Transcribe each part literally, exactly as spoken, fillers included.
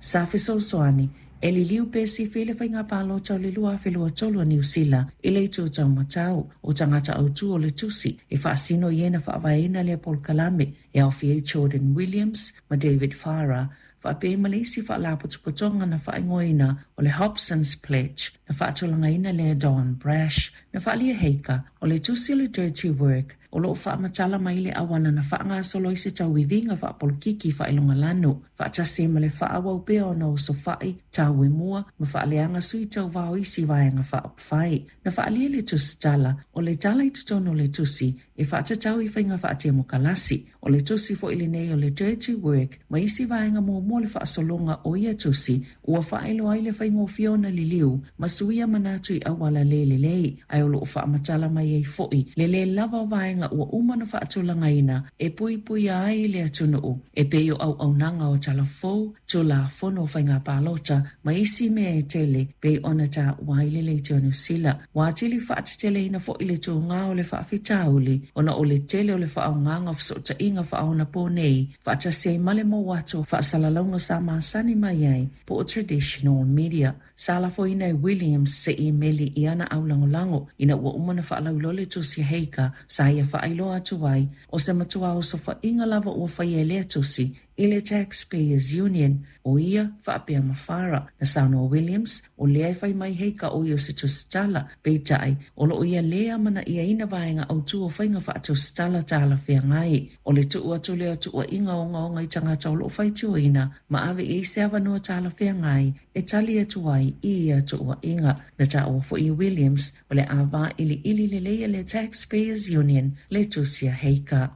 Sa fesoasoani e liliu pe sifi le faiga palota o le lua afe lua tolu a Niu Sila i le itu taumatau o tagata autū o le tusi e faasino i e na faavaeina lea polokalame e aofia ai Jordan Williams ma David Farah faapea ma le isi faalapotopotoga na faaigoaina o le Hobson's Pledge na faatulagaina lea Don Brash. Na faaalia Heika o le tusi o le Dirty Work o loo faamatala mai le auala na faagasolo ai se tauiviga faapolokiki faailogalanu faatasi ai ma le faaauau pea ona osofai tauemua ma faaleaga sui tauvā o isi vaega faaupufai. Na faaalia le tusitala o le tala i totonu o le tusi e faatatau i faiga faatemokalasi. O le tusi foi lenei o le Dirty Work ma isi vaega muamua o le faasologa o ia tusi ua faailoa ai le faigofie ona liliu ma suia manatu i auala le lelei, ae o loo faamatala mai ai foi le lē lava o vaega ua uma ona faatulagaina e puipuia ai le atunuu e pei o auaunaga o talafou, tulafono o faiga palota ma isi mea e tele pei ona taua ai le leitio a Niu Sila. Ua atili faateteleina foi le tugā o le faafitauli ona o le tele o le faaaogaga o fesootaiga faaonaponei faatasi ai ma le maua atu o faasalalauga sa masani mai ai po o traditional media. Sa lafoina e Williams se imeli i ana aulagolago ina ua uma na faalauiloa le tusi a Heika sa ia faailoa atu ai o se matua osofaiga lava ua faia e lea tusi i le Taxpayers Union o ia faapea ma Farah. Na saunoa Williams o lea e fai mai Heika o ia o se tusitala, peitai o loo ia lē amanaiaina vaega autū o faiga faatusitala talafeagai. O le tuu atu lea o tuuaiga ogaoga i tagata o loo faitioina ma ave i ai se avanoa talafeagai e tali atu ai i ia tuuaiga. Na taua foi e Williams o le a vailiili lelei e le Taxpayers Union le tusi a Heika.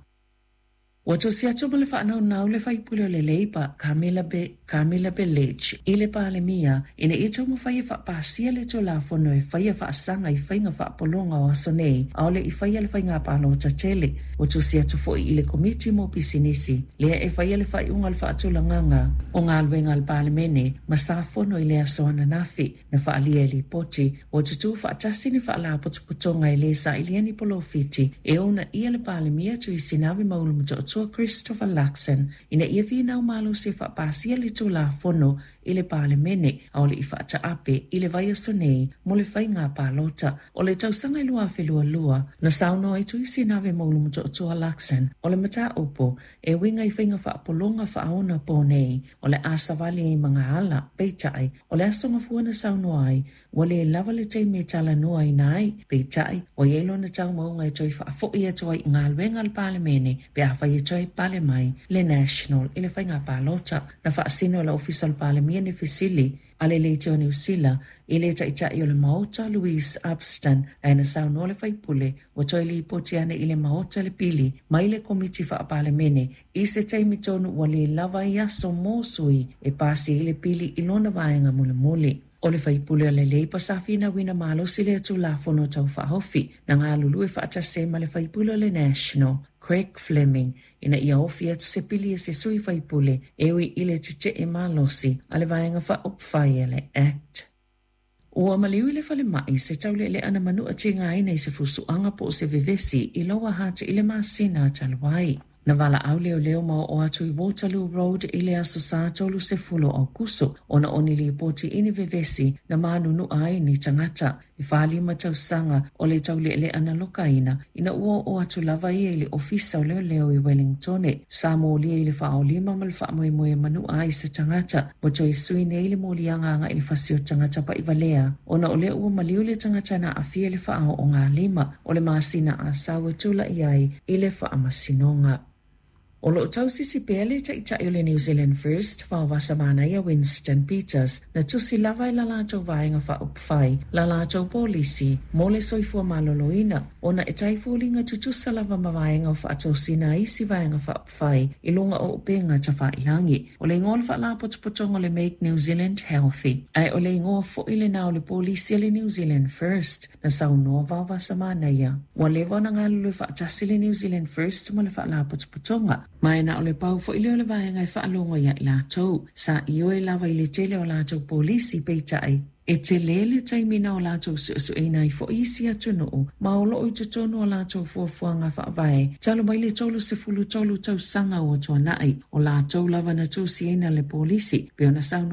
Ua tusi atu ma le faanaunau le faipule o le Labour Camilla, Be Camilla Belich i le Palemia ina ia taumafai e faapasia le tulafono e faia faasaga i faiga faapologa o aso nei aole i faia le faiga palota tele. Ua tusi atu foi i le Komiti mo Pisinisi lea e faia le faaiuga o le faatulagaga o galuega a le Palemene ma sa fono i le aso ananafi. Na faaalia e lipoti ua tutū faatasi ni faalapotopotoga e lē sailia ni polofiti e uunaia le Palemia Tuisinave ma Ulu Christopher Luxon ina ia finau malosi e faapasia le tulafono i le Palemene aole i faataape i le vaiaso nei mo le faiga palota. O le tausaga i lua afe lua lua na saunoa ai Tuisinave ma Ulumotootua Luxon o le mataupu e uiga i faiga faapologa faaonaponei o le a savali ai magaala, peitai o le aso gafua na saunoa ai ua lē lava le taimi e talanoaina ai, peitai ua iai lona taumauga e toe faafoi atu ai i galuega a le Palemene pe afai e toe pale mai le National i le faiga palota. Na faasino e le Ofisa o le Palemia ni fesili a le leitio a Niu Sila i le taitai o le Maota Louise Upston, ae na saunoa le faipule ua toe lipoti ane i le Maota le pili mai le Komiti Faapalemene i se taimi tonu ua lē lava ai aso mo sui e pasi ai le pili i lona vaega mulimuli. O le faipule o le Labour sa finauina malosi lea tulafono tau faaofi na galulue faatasi ai ma le faipule o le National Craig Fleming ina ia ofi atu se pili e se sui faipule e ui i le tetee malosi a le vaega faaupufai a le Act. Ua maliu i le falemai se taulealea na manua tigaina i se fusuaga po o se vevesi i Lower Hutt i le masina talu ai. Na valaau leoleo ma oo atu i Waterloo Road i le aso Sā tolu sefulu o Aokuso ona o ni lipoti i ni vevesi na manunua ai ni tagata. E faalima tausaga o le taulealea na lokaina ina ua oo atu lava ia i le ofisa o leoleo i Wellingtone. Sa molia i le faaolima ma le faamoemoe e manua ai se tagata ua toe sui nei le moliaga agai i le fasi o tagata pa'ivalea ona o lea ua maliu le tagata na aafia i le faaoogalima o le masina Asau e tula'i ai i le faamasinoga. O loo tausisi pea le taitai o le New Zealand First Vaovasamanaia Winston Peters na tusi lava e la latou vaega faaupufai la latou polisi mo le soifua maloloina ona e taifoliga tutusa lava ma vaega o faatosina a isi vaega faaupufai i luga o upega tafailagi. O le igoa o le faalapotopotoga o le Make New Zealand Healthy ae o le igoa foi lenā o le polisi a le New Zealand First. Na saunoa Vaovasamanaia ua leva ona galulue faatasi le New Zealand First ma le faalapotopotoga ma e na o le pau foi lea o le vaega e faalogo ia i latou. Sa ioe lava i le tele o latou polisi, peitai e tele le taimi na o latou suesueina ai foi isi atunuu ma o loo i totonu o latou fuafuaga faavae talu mai le tolu sefulu tolu tausaga ua tuanai o latou lava na tusiina le polisi pei ona saunoa.